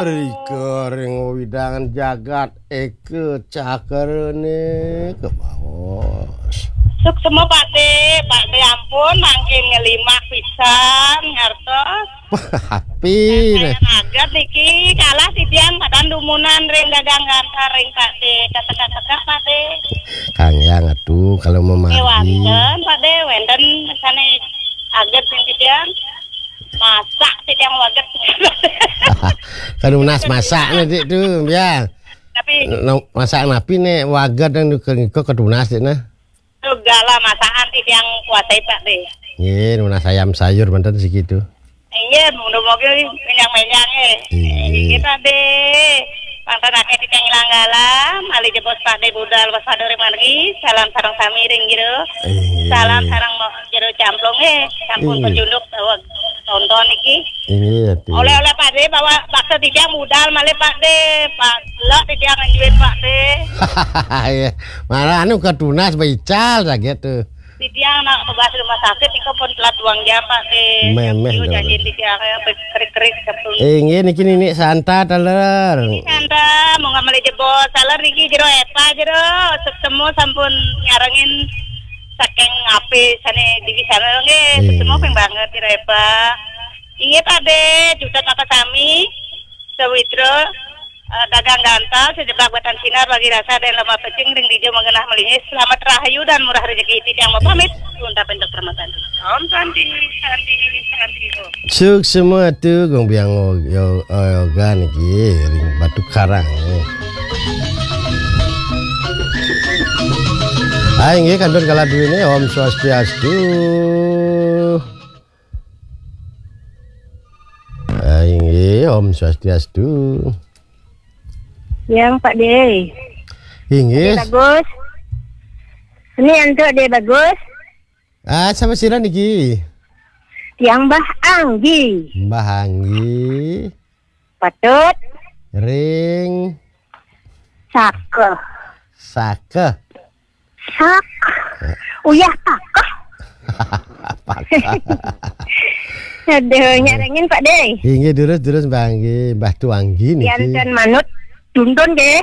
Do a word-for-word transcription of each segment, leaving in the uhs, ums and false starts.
Rika ring wewidangan jagat eka cakrane kebaos. Suksma Pak De, Pak De ampun mangkin ngelimak pisan ngartos. Api ne. Aget niki kalah titiang madan dumunan ring dagang gantar ring Pak De. Kasekak-sekak Pak De. Kang Yang atuh kalau memagi. Wenten Pak De, wenten sane aget ring titiang. Masak titiang waget. Kadunas masak ne, Dik, tuh, ya. Tapi nah, masak napi ne waget yang ngiko kadunas, Dik, nah. Segala masakan titiang kuasai Pak De. Nggih, nunas ayam sayur manten segitu. Iya, mudah-mudahan menyang-menyang eh. Iya. Kita De. Manten akeh titiang ilang galam, ali jebos Pak De budal waspada ring margi. Salam sareng sami ring jero. Iya. Salam sareng mo- jero camplong eh. Sampun pacunduk bahwa nonton iki. Iya, tuh. Oleh-oleh Pak De bawa bakso titiang budal malih Pak De. Pak Lok titiang nganjuin Pak De. Iya. Malah anu kadunas baical saget tuh. Titiang nak ngebahas rumah sakit, engko pun telat duang jam, Pak, eh. Memeh, Yo, dong. Janjin titiang, eh, kerik-kerik, sepuluh. Eh, inggih, niki Nini Santa, taler. Nini Santa, mau ngambil jebos, taler niki jero Epa, jero. Semu sampun nyarengin saking ape sane di sana, nggih. Iya. Semu ping banget, jero Epa. Inggih, Pak De, juta kakak sami. Sawitra, eh, dagang gantal, sejeblak batan sinar bagi rasa dan lemah pecing ring dijo mengenah melinis. Selamat rahayu dan murah rezeki. Titiang mau pamit, untuk permatan. Om Santi, Santi, Santi, Om. Suksma tuh, Gong Biang, yo, yo, gan iki ring Batu Karang. Ah, inggih, kantun kala duwene, Om Swastiastu. Ah, inggih, Om Swastiastu. Yang Pak De. Inggih. Pak De Bagus. Ini untuk De Bagus. Ah, sama sira niki? Yang Mbah Anggi. Mbah Anggi. Patut. Ring. Saka. Saka. Sak. Uyah pakah. Pakah. Aduh, nyarengin Pak De. Inggih, durus, durus, Mbah, inggih. Mbah Tuanggi niki. Yan dan manut, tuntun nggih.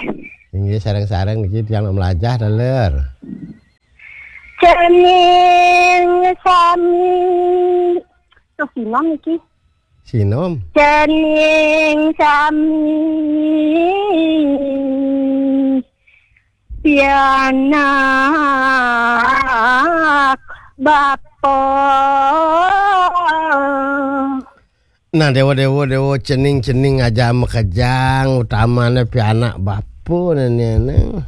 Inggih, sareng-sareng niki tiang melajah, taler. Cening sami. Tuh, Sinom niki. Sinom. Cening sami. Pianak bapa. Nah, dewa, dewa, dewa, cening, cening aja makejang, utamane pianak bapa, nene, nene.